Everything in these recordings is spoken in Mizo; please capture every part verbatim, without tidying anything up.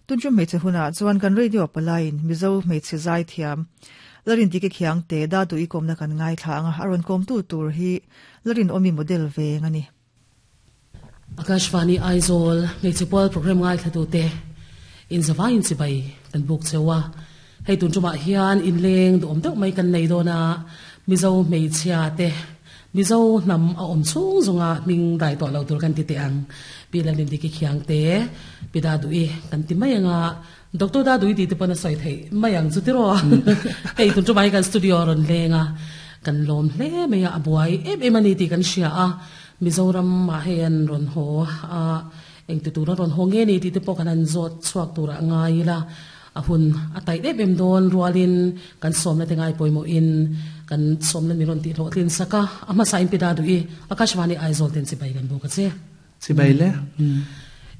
Tunchum hmeichhe hunah chuan kan radio palain Mizo hmeichhe zai thiam Lalrindiki Khiangte da du ikomna kan ngai thla anga aron kom tu tur hi Larin omi model ve ngani. Akashvani Aizawl hmeichhe pual program ngai thla tu te in zawain chi bai kan buk chewa hei tun chuma hian in leng du om deuh mai kan nei dona Mizo hmeichhia te Mizo nam a om chung zunga ming dai to lo tur kan ti te ang pi Lalrindiki Khiangte pi da dui kan ti mai anga Doctor da dui ti te pona soi thei mai ang chu ti ro hei tun chuma kan studio ron lenga kan lom hle mai a abuai em em ani ti kan hria a Mizoram ma hen ron ho a eng tu tur ron ho nge ni ti te pawh kan an zawt chhuak tura ngai la a hun a tai em em don rualin kan somna te ngai pawimawh in kan somna mi ron ti hlawh tlin saka ama sa in pi da dui Akashvani Aizawl ten chibai kan bawk a che chibai le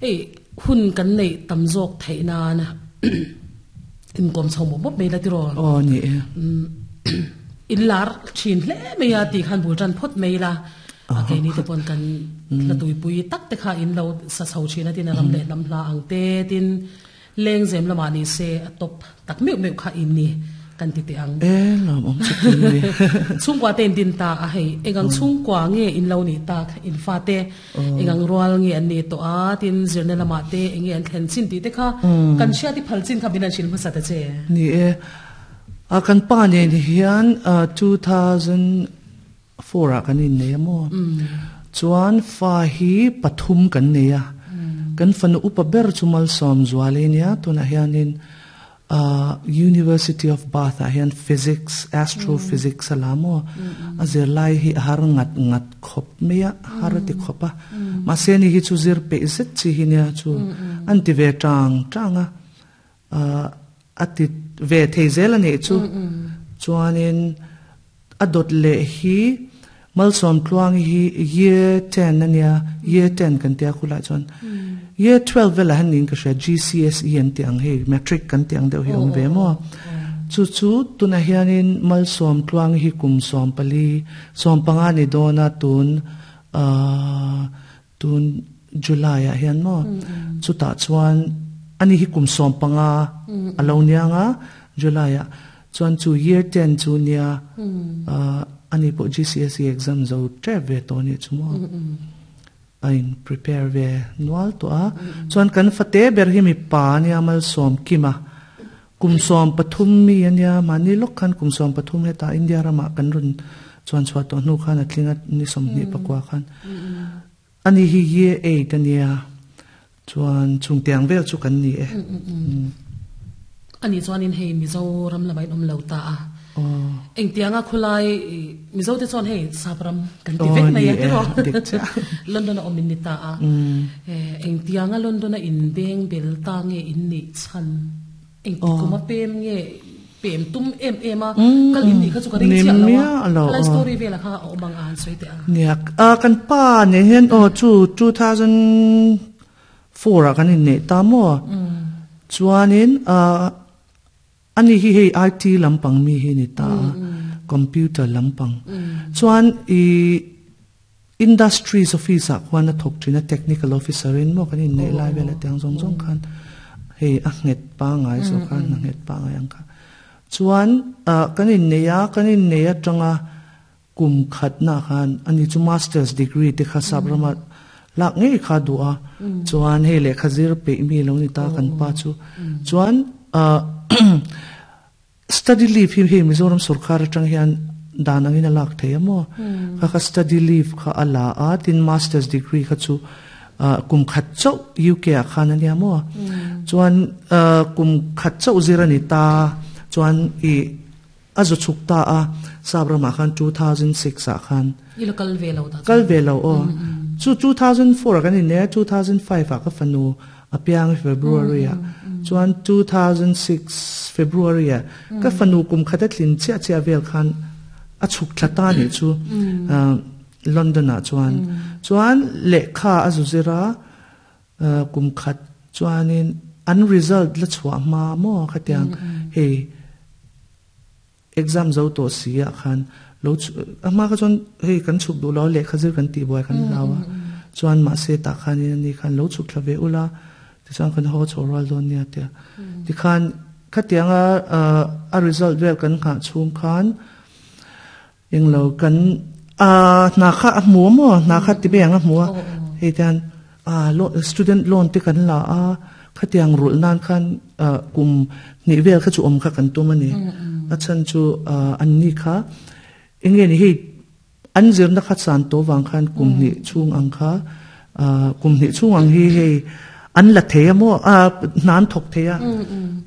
ei hun kan nei tam zawk theih nan in kom chho mo mop mai la ti ro aw ni e in lar thin hle mai a ti khan bul tan phawt mai la a ke ni te pon kan la tui pui tak te kha in lo sa chho thina tin ram le lam hla ang te tin leng zem lama ni se a top tak meu meu kha in ni kan ti te ang e lam om chu tin ni chungkwa ten din ta a hei engang chungkwa nge in lo ni ta in fa te engang rual nge an ni to a tin zirna lama te enge an thlen chin ti te kha kan sia ti phal chin kha binan sil hmasa ta che ni e a kan pa ne ni hian two thousand four a kan in nei mo chuan fa hi pathum kan nei a kan fanu upa ber chumal som zualenia tuna hianin uh University of Bath a hian physics astrophysics alamo a zir lai hi har ngat ngat khop mea har ti khopa ma se ni hi chu zir pe zet chi hi nia chu an ti ve tang tanga uh ati ve theizel ani chu chuanin adot le hi malsom tluang hi year ten ania year ten kan tia khula chuan year twelve vela hanin ka hria G C S E an ti ang hei matric kan ti ang deuh hi om ve mo chu chu tuna hianin malsom tluang hi kum som pali som panga ni dona tun uh tun July a hian mo chu ta chuan ani hi kum som panga alo nianga July a chuan chu year ten chu nia uh ani po G C S E exam zo tre ve to ni chu mo ain prepare ve nual to a chuan kan fate ber hi mi pa ni amal som kima kum som pathum mi ania mani lok khan kum som pathum he ta India rama kan run chuan chwa to nu khan atlinga ni som ni pakwa khan ani hi year eight ania chuan chungtiang vel chu kan ni e ani chuan in hei Mizoram lamai om lo ta a eng tianga khulai Mizo te chuan hei sapram kan ti vek mai a ti ro London a omin ni ta a eng tianga London a in beng bel ta nge in ni chan eng ti kuma pem nge pem tum em em a kal in ni kha chu ka ring chiah lo a lai story vela kha a omang an soi te a niak a kan pa ne hen o chu two thousand four a kan in ne ta mo chuanin a ani hi hei I T lampang mi hi ni ta computer lampang chuan i industries officer khuan a thok thina technical officer in mo kan in nei lai vela tiang zong zong khan hei a nget pa ngai so khan a nget pa ngai ang kha chuan kan in neia kan in neia tanga kum khat na khan ani chu masters degree te kha sabrama lak ngei kha dua chuan hei le khazir pe mi lo ni ta kan pa chu chuan study leave hi hi Mizoram sarkar atang hian danangin alak thei amo kha kha study leave kha ala a tin masters degree kha chu kum khat chau U K a khan ania mo chuan kum khat chau zirani ta chuan i azu chuk ta a sabrama khan two thousand six a khan i lo kal ve lo ta kal ve lo o chu two thousand four kan in ne two thousand five a ka fanu apiang February a chuan two thousand six February a ka fanu kum khata thlin chia chia vel khan a chuk thlata ni chu London a chuan chuan lekha azu zira kum khat chuanin an result la chhuah ma mo khatiang hei exam zo to sia khan lo ama ka chuan hei kan chuk du lo lekha zir kan ti boy kan lawa chuan ma se ta khan ni khan lo chuk thlave ula Ti chuan kan ho chho ral dawn nia tia. Ti khan khatianga a result vel kan kha chung khan englo kan a na kha a mu mo na kha ti be anga mu hei tan a student loan te kan la a khatiang rul nan khan kum ni vel kha chu om kha kan tum ani a chan chu an ni kha enge ni hei an zir na kha chan to wang khan kum ni chung ang kha kum ni chung ang hi hei an la theia mo a nan thok theia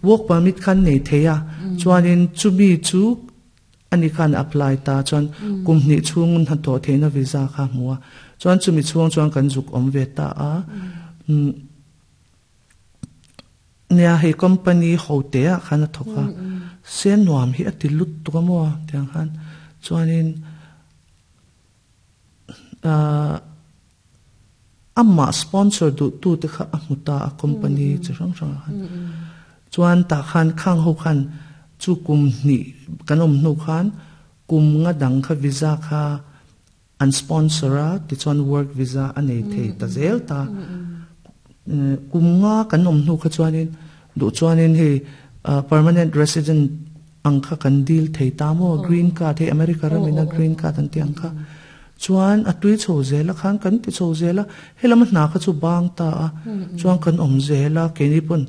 work permit khan nei theia chuanin chumi chu ani khan apply ta chuan kum ni chung han to theina visa kha muwa chuan chumi chuang chuan kan zuk om ve ta a nia hei company ho te a khan a thoka sen nuam hi ati lut tu mo tiang khan chuanin a amma sponsor du tu te kha amuta a company chi rang rang khan chuan ta khan khang ho khan chu kum ni kanom nu khan kum nga dang kha visa kha an sponsora ti chuan work visa anei thei ta zel ta kum nga kanom nu kha chuanin du chuanin hei permanent resident ang kha kan deal thei ta mo green card hei America ramina green card an ti ang kha chuan atui chho zela khan kan ti chho zela helam hna kha chu bang ta a chuan kan om zela keni pon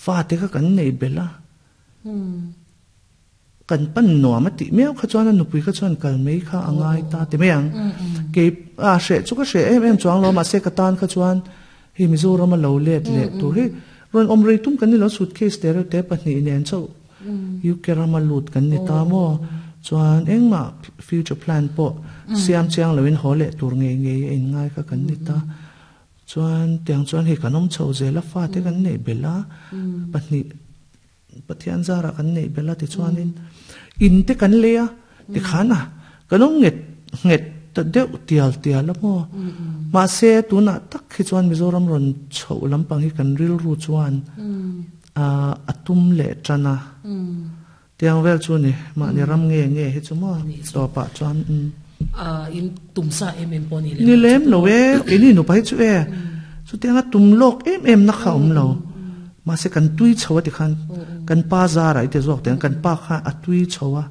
fa te kha kan nei bela kan pan nuam ati meu kha chuan anu pui kha chuan kal mei kha angai ta te meang ke a she chu ka she em em chuang lo ma se ka tan kha chuan hi Mizoram a lo let le tur hi ron om rei tum kan ni lo suitcase te te pahnih nen chau U K rama lut kan ni ta mo chuan engma future plan po siam chiang loin hole tur nge nge in ngai ka kan ni ta chuan tiang chuan hi kanom chho zela fa te kan nei bela pahnih pathian zara kan nei bela ti chuanin in te kan lea ti khana kanom nget nget ta deuh tial tial mo ma se tuna tak hi chuan Mizoram ron chho lampang hi kan ril ru chuan a atum le chana tiang vel chu ni ma ni ram nge nge hi chu mo to pa chuan a in tumsa em em poni le ni lem lo e ini nu pai chu e chu tianga tum lok em em na kha om lo ma se kan tui chhowa ti khan kan pa za rai te zawk ten kan pa kha a tui chhowa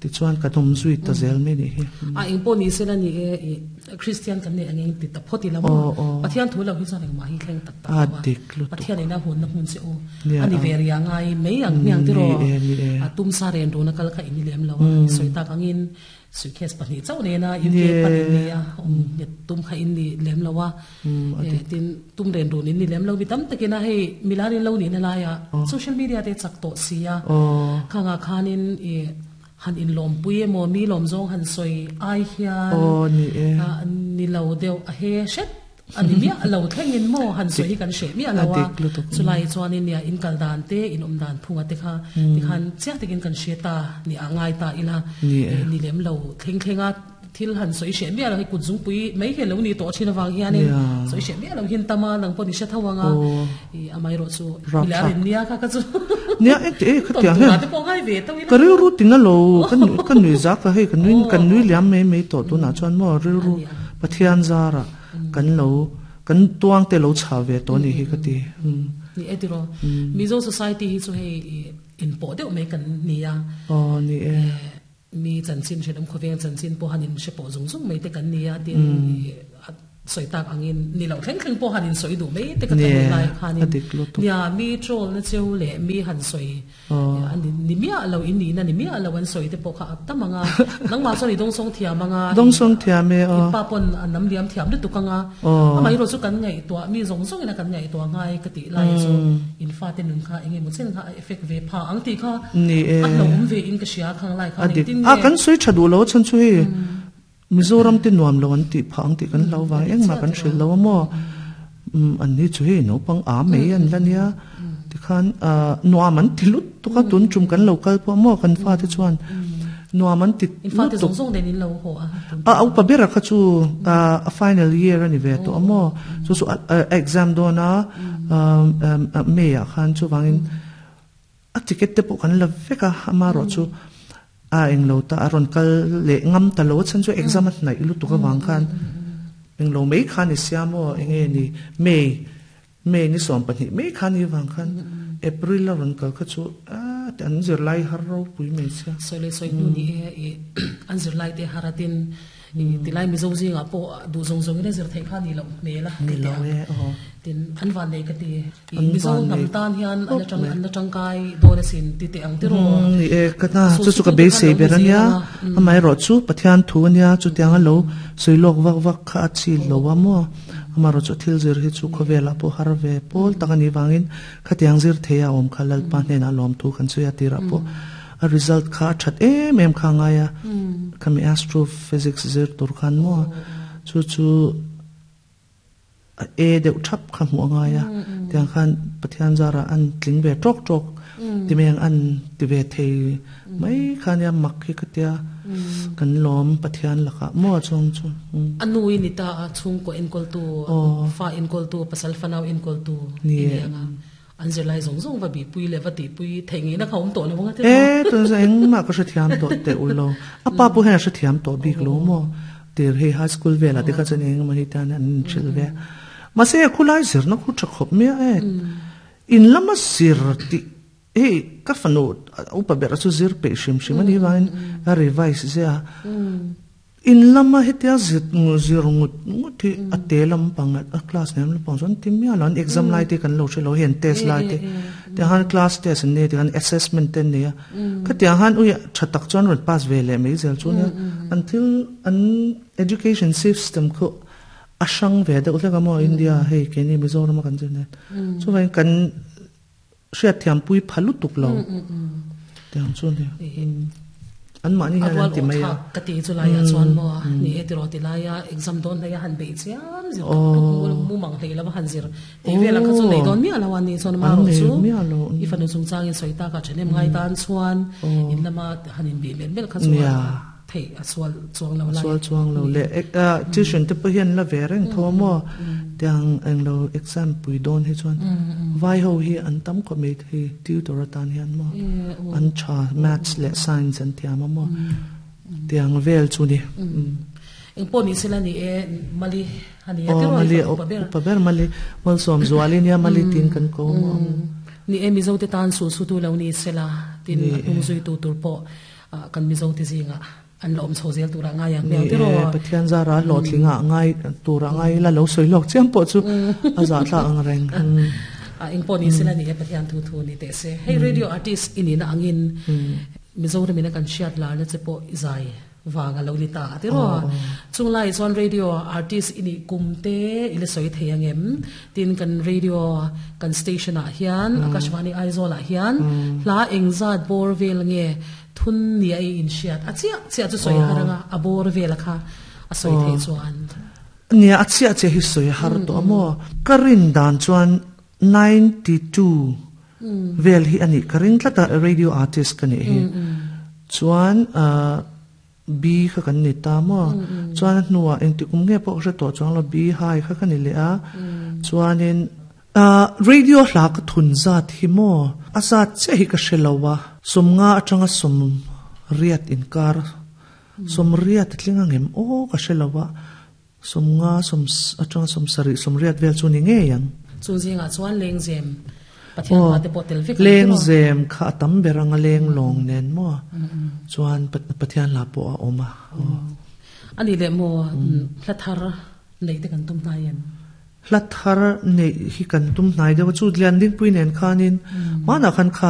ti chuan ka tum zui ta zel me ni hi a ing poni se la ni e Christian kan ne angeng ti ta photi la mo pathian thu lo hi chuan eng ma hi thleng tak tak a dik lu pathian ina hun na hun se o ani veria ngai mei ang niang ti ro a tum sa ren ro na kal kha ini lem lo soi ta kangin suitcase pahnih chau ne na U K pahnih ne a om net tum kha in ni lem lo wa tin tum ren ro ni ni lem lo bi tam takina hei milarin lo ni na la ya social media te chak to sia khanga khanin e han in lom pui mo mi lom zong han soi ai hian o ni e ni lo deuh a he shet ani mi lo thleng in mo han soi kan she mi alawa chulai chuan in ya in kal dan te in om dan phunga te kha ti khan chiak takin kan she ta ni angai ta ila ni lem lo thleng thlenga thil han soi she mi ala hi kut zung pui mai he lo ni to thina wang hian in soi she mi lo hin tama nang pon ni she thawanga i amai ro chu milarin nia kha ka chu nia e te kha tia he te po ngai ve to ka ril ru tin lo kan kan nui za ka hei kan nui kan nui liam mai mai to tu na chuan mo ril ru pathian zara kan lo kan tuang te lo cha ve to ni hi ka ti ni etiro Mizo society hi chu hei in po deuh mai kan nia o ni e mi chanchin she dam khoveng chanchin po hanin she po zung zung mai te kan nia tin soi tak angin ni lo thleng thleng po hanin soi du mai te ka tan lai khanin nia mi troll na cheu le mi han soi ani ni mi lo in ni na ni mi lo an soi te po kha tamanga nang ma soi dong song thia manga dong song thia me o pa pon anam liam thiam du tukanga amai ro chu kan ngai to mi zong zong ina kan ngai to ngai ka ti lai chu in fa te nun kha enge mo chen kha effect ve pha ang ti kha ni e a lo um ve in ka sia khang lai kha ni tin a kan soi thadu lo chan chu hi Mizoram te nuam lo an ti phang ti kan lo wa eng ma kan hril lo mo an ni chu he no pang a mei an lania ti khan nuam an ti lut tu ka tun chum kan local po mo kan fa te chuan nuam an ti in fa te zong zong den in lo ho a a au pa bera kha chu a final year ani ve to amo chu chu exam do na me ya khan chu wangin a ticket te po kan la veka ama ro chu a eng lo ta aron kal le ngam ta lo chan chu exam at nai lu tu ka wang khan eng lo mei khan ni siamo enge ni mei May ni som pahnih mai khan ni wang khan April la ron kal kha chu a an zir lai har ro pui mai sia soi le soi nu ni e i an zir lai te haratin i tilai mi zo zinga po du zong zong ina zir thei kha ni lo me la ni lo e o tin an van nei ka ti i An mi zo van nam nei. tan hian an la tang an la tang kai do na sin ti te ang ti ro ni e ka na Su chu su chu ka tu be te se khan lo ber ania zinga, amai ro chu pathian thu ania chu tiang a lo soilok vak vak kha a chi lo wa mo ama ro chu thil zir hi chu khowela po har ve pol tak ani wangin kha tiang zir theia om khalal pa hnen a lom thu kan chu ya tira po a result kha that em em kha nga ya khami astrophysics zir tur khan mo chu chu a e deuh thap kha hmu anga ya tiang khan pathian zara an tling ve tok tok ti meng an ti ve thei mai khan ya mak hi ka tia kan lom pathian laka mo chong chu anu ni ta a chung ko en kol tu Oh. fa en kol tu pasal fanau en kol tu Ni ni e. anga an zir lai zong zong va bi pui le va ti pui thei ngi na khom to na wanga te e tun sa eng ma ka thiam to te ulo apa pu hen sa thiam to bik lo mo tir he high school ve la te kha chen eng ma hi tan an chil ve ma se khulai zir na khu thak me e in lama sir ti e ka fanu upa ber chu zir pe shim shim ani wain a revise ze a in lama hetia zit ngu zir ngut ngut hi a te lam pang a class nem lam pang chuan ti mia lan exam lai te kan lo she lo hen test lai te te han class test ne te han assessment ten ne ka te han ui thatak chuan ron pass ve le mai zel chu ne until an education system ko asang ve de ule ka mo India hei ke ni Mizoram kan zir ne chu vai kan hriat thiam pui phalu tuk lo te ang chu ne an ma ni han adwal ti o mai tha a ka ti chu lai a chuan mo ni e ti ro ti lai a exam don na ya han be chiam zir Oh. mu mang hlei la han zir ti ve la kha chu nei don mi ala wan ni chuan ma An ro nei chu mi alo. i fanu chung chang in soita ka thenem ngai tan chuan in lama han in bi mel mel kha chu Nia. thei a sual chuang lo lai sual chuang lo le ek a tuition te pa hian la ve reng tho mo tiang eng lo exam pui don hi chuan vai ho hi an tam ko me hi tutor atan hian mo an cha maths le science an thiam mo tiang vel chu ni eng po ni sila ni e mali hani o ti ro mali i pa ber pa ber mali mal som zuali nia mali tin kan ko mo ni e mizo te tan su su tu lo ni sela tin tung zui tu tur po ah, kan mizo te zinga an lom chho zel tura nga yang ni mel ti ro e pathian zara lo thlinga ngai tura ngai la lo soi lok chiam po chu a za thla ang reng a eng po ni sila ni e pathian thu thu ni te se hey radio artist ini na angin mizo re mina kan shiat la na che po izai wanga lo ni ta ti ro chung lai chuan radio artist ini kumte ile soi theiangem tin kan radio kan station a hian akashvani aizawl ah hian hla engzat bor vel nge thun ni ai in shiat a chia chia chu soi haranga a bor vel kha a soi thei chuan nia a chia che hi soi har to amo karin dan chuan ninety-two vel hi ani karin tlata radio artist kani hi chuan a B kha kan ni ta mo chuan hnuwa eng ti kum nge po hre to chuan lo B hai kha kan ni le a chuanin a radio hla ka thun zat hi mo a zat che hi ka hrelowa sumnga atanga sum riat in kar sum riat tlinga ngem o ka hrelowa sumnga sum atanga sum sari sum riat vel chu ni nge yang chu zinga chuan leng zem pathian Oh, pa te potel vek leng zem kha tam beranga leng long nen mo chuan pat- pathian la po a oma ani le mo hlathar nei te kan tum na yan hlathar nei hi kan tum hnai deuh chu lian ding pui nen khanin mana khan kha